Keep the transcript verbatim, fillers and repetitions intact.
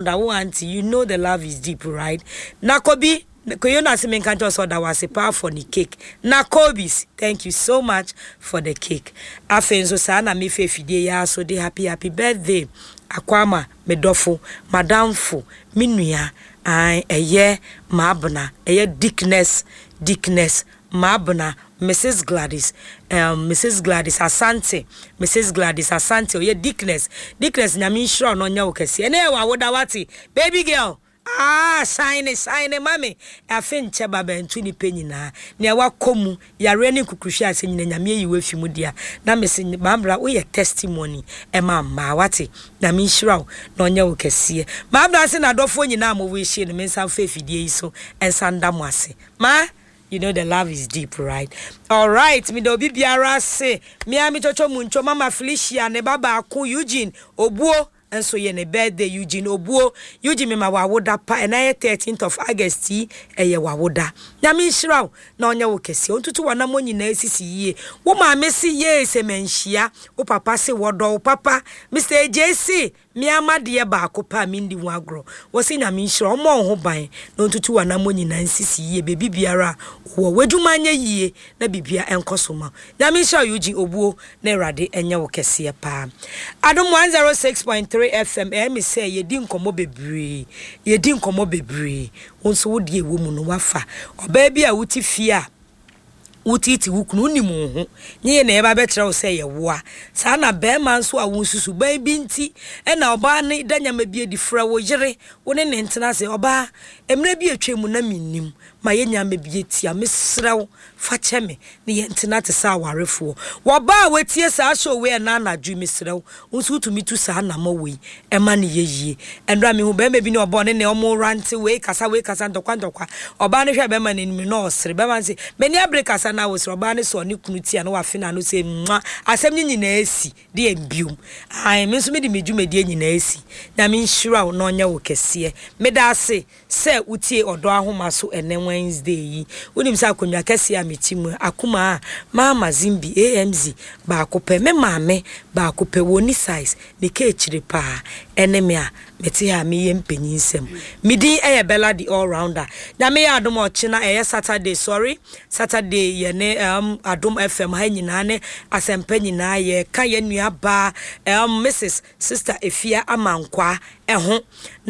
Wo auntie, you know the love is deep, right? Nakobi, koyo na se menka nkyerɛ sɛ ɔda wase paa for ne cake. Nakobis, thank you so much for the cake. Afei nso saa na mefa afidie yi ara so de happy happy birthday akɔ ama me dɔfo, madamfo, me nua, ae, ɛyɛ Maabena, ɛyɛ Dickness, Dickness Maabena, Missus Gladys, um, Missus Gladys Asante, Missus Gladys Asante, ɔyɛ Dickness. Dickness, Nyame nhyira wo na ɔnyɛ wo kɛseɛ. Ɛnɛ yɛ w'awoda, wate, baby girl. Ah, shine, shine, mami. Afe nkyɛ ba bɛnto nipa nyinaa. Nea wakɔ mu, yare ne nkukuhwɛ ase nyina, Nyame ayi wo afi mu dea. Na mese, Maabra, woyɛ testimony ɛma mmaa, wate. Nyame nhyira wo na ɔnyɛ wo kɛseɛ. Maabra se n'adɔfoɔ nyinaa mo wish no, me nsa mfa afidie yi so ɛnsa nda mo ase. Ma, you know the love is deep, right? All right, me da obi biara se, me a me twotwo mu ntwo Mama Felicia ne ba baako Eugene Obuo nso yɛ ne birthday. Eugene Obuo, Eugene, mema wawoda pa. Ɛna yɛ thirteenth of August yi, ɛyɛ wawoda. Nyame nhyira wo na ɔnyɛ wo kɛseɛ, ɔntutu w'anammɔ nyinaa sisi yie. Wo maame se yee sɛ manhyia wo papa se wɔdɔ wo papa. Mister A J se mmeama deɛ baako pa a mendi ho agorɔ. Wɔ se Nyame nhyira, ɔmmɔ wo ho ban na ɔntutu w'anammɔ nyinaa nsisi yie. Baabi biara a wɔ w'adwuma nyɛ yie na biribia ɛnkɔ so ma. Nyame nhyira wo, Eugene Obuo, na Awurade ɛnyɛ wo kɛseɛ paa. Adom one oh six point three F M, ɛyɛ me sɛ yɛdi nkɔmmɔ bebree, yɛdi nkɔmmɔ bebree. Wo nso wo deɛ ɛwɔ mu no wafa ɔbaa bi a wote fie a wotiiti wo kunu, wonim wo ho nye yɛ na yɛba bɛkyerɛ wo sɛ yɛwoa saa. Na bɛrima nso a wo nsusu ban bi nti ɛna ɔbaa ne da nyama bi adi, frɛ wo yere, wo ne ne ntena ase. Ɔbaa, mmerɛ bi atwa mu na mennim ma yɛ nyama bi atia, mesrɛ wo, fa kyɛ me ne yɛntena te sɛ awarefoɔ. Wɔbaa a watie saa show wei ɛna anadwo, mesrɛ wo, wo nso wotumi tu saa anammɔ wei ɛma ne yɛ yie. Ɛnora mehu bɛrima bi ne ɔbɔ ne ne ɔmo rante, wei kasa, wei kasa, ntɔkwa ntɔkwa. Ɔbaa no hwɛ bɛrima n'anim na ɔsere. Bɛrima no sɛ m'ani abere kasa na wosere. Ɔbaa no sɛ ɔne kunu tia na wafe n'ano sɛ mwa, asɛm no nyinaa asi de yɛ biom. Ae, me nso mede me dwumadie nyinaa asi. Nyame nhyira wo na ɔnyɛ wo kɛseɛ. Meda ase sɛ wotie Ɔdɔ Ahoma so ɛnɛ Wednesday yi. Wonim sɛ akonnwa kɛseɛ a meti mu, akoma a Mama Zimbi A M Z baako pɛ, me maame baako pɛ, wɔni size ne ka akyire paa, ɛne me a mete ha meyɛ mpanyin nsɛm. Me din ɛyɛ Bella the All Rounder. Nyame yɛ adom, ɔkyena ɛyɛ Saturday, sorry, Saturday, yɛne um, Adom F M ha nyinaa ne Asɛmpa nyinaa yɛka yɛn nua baa um, Missus Sister Efia Amankwa ɛho na